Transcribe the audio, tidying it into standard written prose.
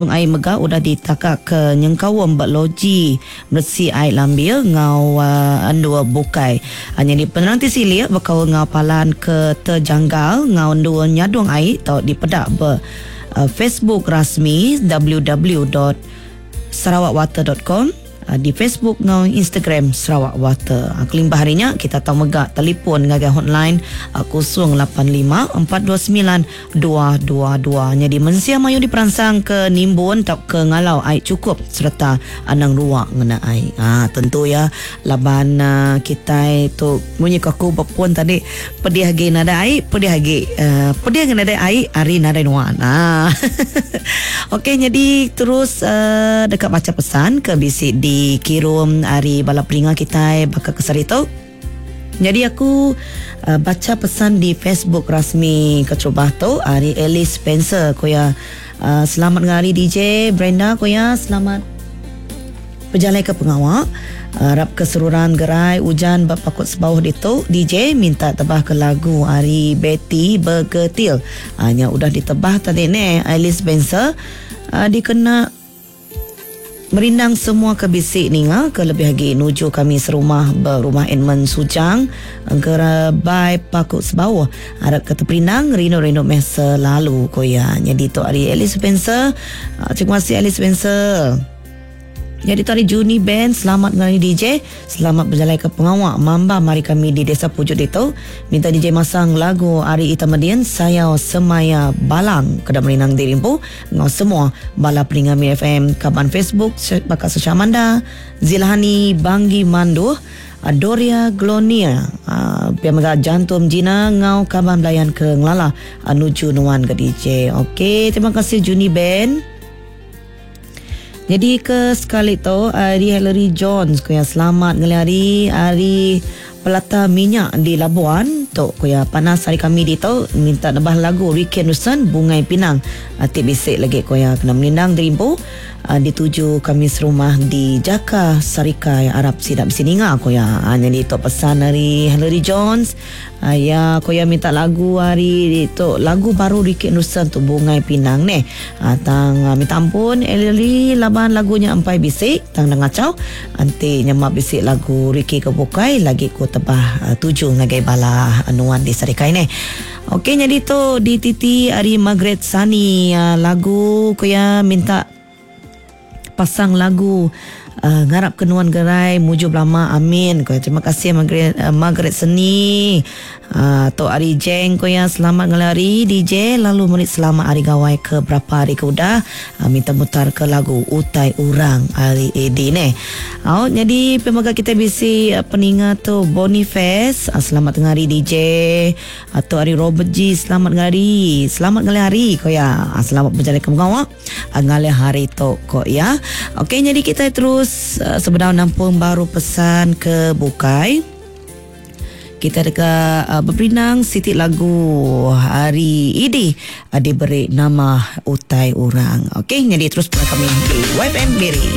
Ai mega udah ditaka ke nyengkaum ba loji meresi ai lambir enggau endur bukai. Nyadi penerang ti silik bekaul enggau palan ke tejanggal enggau endur nyadung ai tau dipeda ba Facebook rasmi www dot sarawakwater dot com. Di Facebook enggau Instagram Sarawak Water. Kelimpah ari nya, kita tau mega telipon ngagai hotline 085 429 222. Nyadi mensia mayuh diperansang ke nimbun tauka ngalau ai chukup sereta anang rua ngena ai. Tentu iya laban kitai tu munyi ku aku ba pun tadi pedih agi nadai ai pedih agi pedih agi nadai ai ari nadai nuan. Okey nyadi terus deka macha pesan ke bisi dikirum ari bala peninga kitai baka ke sehari tu. Nyadi aku bacha pesan di Facebook rasmi keterubah tu ari Alice Spencer ku iya selamat ngari DJ Brenda ku iya selamat pejalai ke pengawa arap ke seruran gerai ujan ba Pakut Sebauh ditu DJ minta tebah ke lagu ari Betty Begetil. Nya udah ditebah tadi neh Alice Spencer dikena Merindang semua ke bisi ninga ke lebih agi nuju kami serumah ba Rumah Edmund Sujang Engkerebai Paku Sebauh. Arap ke teperindang rindu-rindu meh selalu ku iya. Nyadi tu ari Alice Spencer. Terima kasih Alice Spencer. Nyadi tu ari Juni Band selamat ngelani DJ. Selamat bejalai ke pengawa mambam ari kami di Desa Pujut ditu. Minta DJ masang lagu ari Ita Medin Sayau Semaya Balang keda merindang diri empu. Enggau semua bala peninga Miri FM kaban Facebook baka Sesha Amanda, Zilhani Banggi Manduh, Doria Glonia, pia mega Jantum Jina enggau kaban belayan ke ngelala nuju nuan ga DJ. Ok terima kasih Juni Ben. Nyadi ke sekali tu ari Hillary Jones ku iya selamat ngelih hari ari Pelata Minyak di Labuan tu ku iya panas hari kami ditu minta nebah lagu Ricky Anderson Bungai Pinang ti bisi lagi ku iya kena melindang diri empu dituju kami serumah di Jaka Sarikai arap sida bisi ninga ku iya. Nyadi tu pesan ari Hillary Jones. Iya ku iya minta lagu ari tu lagu baru Ricky Anderson tu Bungai Pinang neh. Tang minta ampun Ellie laban lagu nya empai bisi tang enda ngachau enti nyema bisi lagu Ricky ke bukai lagi ku tebah tuju ngagai bala nuan di Sarikai neh. Okey nyadi tu dititi ari Margaret Sani lagu ku iya minta Pasang lagu ngarap ke nuan gerai mujur belama amin ko terima kasih Margaret Margaret Seni tu ari Jeng ko iya selamat ngalih hari DJ lalu meri selamat hari gawai ke berapa hari ke udah minta mutar ke lagu utai urang ari AD neh. Au nyadi pia mega kitai bisi peninga tu Boniface selamat tengah hari DJ. Tu ari Robert G selamat ngalih hari selamat ngalih hari ko iya selamat bejalai ke pengawa. Ngalih hari tu ko iya. Okey nyadi kitai terus sebedau nampung baru pesan ke bukai. Kita deka beperindang siti lagu ari Idi diberi nama Utai Orang. Okey nyadi terus pula kami di YFM Miri.